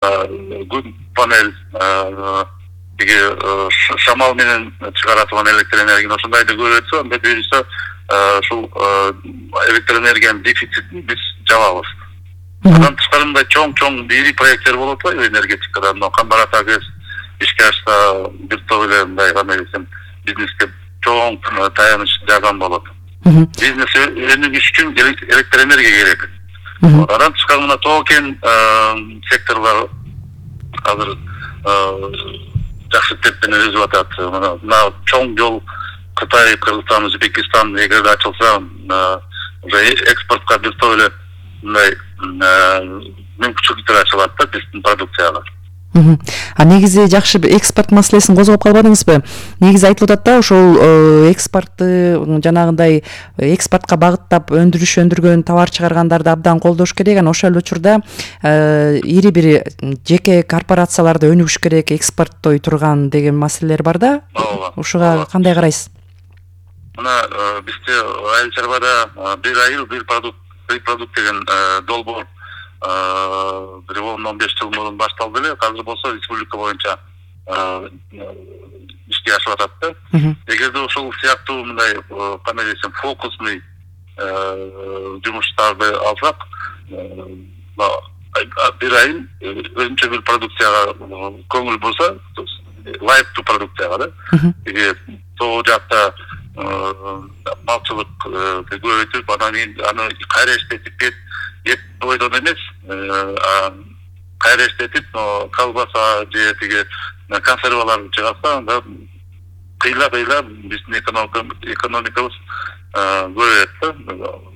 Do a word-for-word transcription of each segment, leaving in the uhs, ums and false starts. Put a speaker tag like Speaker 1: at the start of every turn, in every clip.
Speaker 1: күн панель, тиги шамал менен чыгарылган электр энергияны ошондайды көрөтсө, анда буюрса ушул электр энергиянын дефицитин биз жабабыз. Андан тышкары мындай чоң-чоң ири проекттер болот го энергетикада. Мына Камбарат АГЭС ишке ашса, бир топ эле мындай кандай десем, бизнеске чоң таяныч жардам болот. Бизнес өнүгүш үчүн электр энергия керек. Андан тышкары мына токен секторлор азыр жакшы темпен өсүп атат. Мына чоң жол Кытай, Кыргызстан, Өзбекстан эгерде ачылса, уже экспортко бир топ эле мындай мүмкүнчүлүктөр ачылат да биздин продукцияга.
Speaker 2: А негизи жакшы экспорт маселесин козгоп калбадыңызбы? Негизи айтылып атат да, ошол экспортты жанагындай экспортко багыттап өндүрүш өндүргөн товар чыгаргандарды абдан колдош керек. Анан ошол учурда ири бир жеке корпорацияларды өнүгүш керек, экспорттой турган деген маселелер бар да. Ушуга кандай карайсыз?
Speaker 1: Мына бизде Айыл чарбада бир айыл бир продукт бир продукт деген долбоор бир он он беш жыл мурун башталды эле. Азыр болсо республика боюнча ишке ашып атат да. Эгерде ошол сыяктуу мындай кандай десем фокусный жумуштарды алсак, бир айыл өзүнчө бир продукцияга көңүл бурса, лайыктуу продукцияга да. Эгер тоо жакта малчылык көбөйтүп, анан кийин аны кайра иштетип ет бойдон эмес, кайра иштетип, колбаса же тиги консерваларды чыгарса, анда кыйла-кыйла биздин экономикабыз көбөйөт да,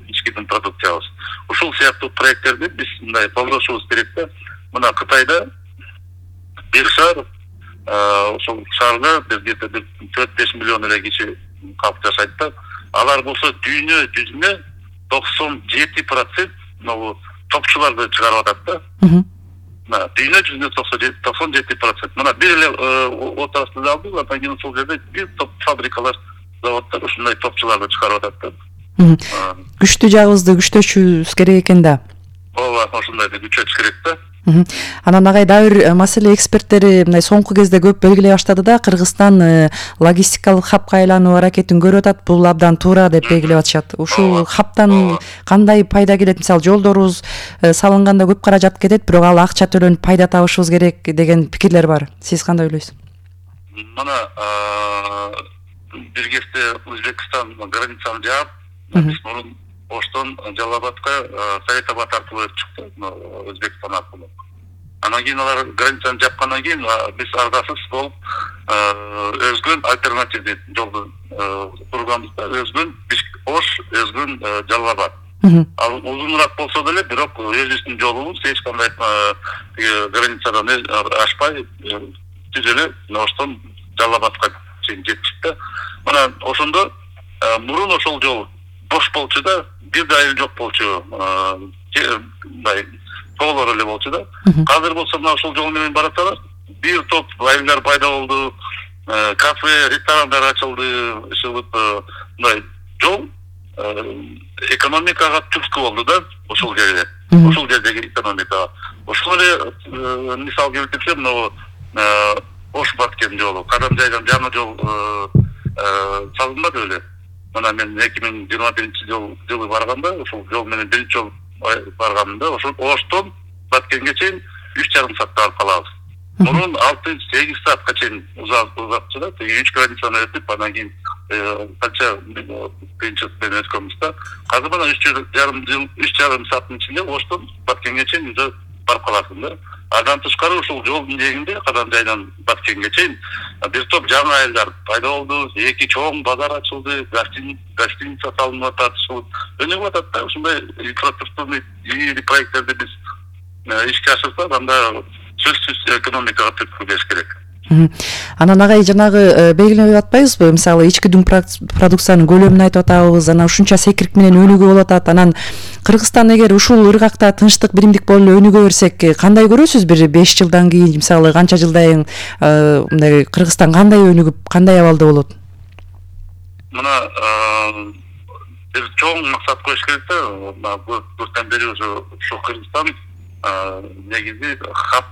Speaker 1: ичкидин продукциябыз. Ушул сыяктуу проекттерди биз мындай колдошубуз керек да. Мына Кытайда бир шаар, ошол шаарда где-то төрт беш миллион эле киши калып жашайт да. Алар болсо дүйнө жүзүнө токсон жети процент могу топчуларды чыгарып атат да. Мына дүйнө жүзүнө токсон жети процент. Мына бир эле отраслды алдык, андан кийин ошол жерде бир топ фабрикалар, заводдор ушундай топчуларды чыгарып атат да.
Speaker 2: Күчтүү жагыбызды күчтөшүбүз керек экен да.
Speaker 1: Ооба, ошондойду күчөтүш керек да.
Speaker 2: Анан агай дагы бир маселе эксперттери мындай соңку кезде көп белгилей баштады да, Кыргызстан логистикалык хабка айлануу аракетин көрүп атат. Бул абдан туура деп белгилеп атышат. Ушул хабтан кандай пайда келет? Мисалы, жолдорубуз салынганда көп каражат кетет, бирок ал акча төлөнүп пайда табышыбыз керек деген пикирлер бар. Сиз кандай ойлойсуз?
Speaker 1: Мына бир кезде Өзбекстан границаны жаап, биз мурун Оштон Жалал-Абадка Совет Абад аркылуу чыкты, Өзбекстан аркылуу. Анан кийин алар границаны жапкандан кийин биз ардасыз болуп өзгөн альтернативдүү жолду курганбыз да, өзгөн Ош, өзгөн Жалал-Абад. Ал узунураак болсо деле, бирок өзүбүздүн жолубуз эч кандай границадан ашпай түз эле Оштон Жалал-Абадка чейин жетишти да. Мына ошондо мурун ошол жол бош болчу да, бир да айыл жок болчу, мындай тоолор эле болчу да. Азыр болсо мына ошол жол менен бараталар, бир топ айылдар пайда болду, кафе, ресторандар ачылды, ушулуп мындай жол экономикага түрткү болду да, ошол жерде. Ошол жердеги экономикага. Ошол эле мисал келтирсем, могу Ош-Баткен жолу, Кадамжайдан жаңы жол салынбады беле. Мына мен эки миң жыйырма биринчи жылы барганда, ошол жол менен биринчи жол барганда, ошол Оштон Баткенге чейин үч жарым саатта барып калабыз. Мурун алты сегиз саатка чейин узатчу да, үч границаны өтүп, андан кийин канча кыйынчылык менен өткөнбүз да. Азыр мына үч жарым жыл, үч жарым сааттын ичинде Оштон Баткенге чейин уже барып каласың да. Андан тышкары ушул жолдун жээгинде Кадамжайдан Баткенге чейин бир топ жаңы айылдар пайда болду, эки чоң базар ачылды, гостиница салынып атат, өнүгүп атат да. Ушундай инфраструктурный проекттерди биз ишке ашырсак, анда сөзсүз экономикага түрткү бериш керек.
Speaker 2: Анан агай жанагы белгилеп атпайбызбы? Мисалы, ички дүң продукциянын көлөмүн айтып атабыз, анан ушунча секирик менен өнүгүп болуп атат. Анан Кыргызстан эгер ушул ыргакта тынчтык, биримдик болуп эле өнүгө берсек, кандай көрөсүз бир беш жылдан кийин, мисалы, канча жылдан мындай Кыргызстан кандай өнүгүп, кандай абалда болот?
Speaker 1: Мына бир чоң максат коюш керек да. Көптөн бери ушу Кыргызстан негизи хаб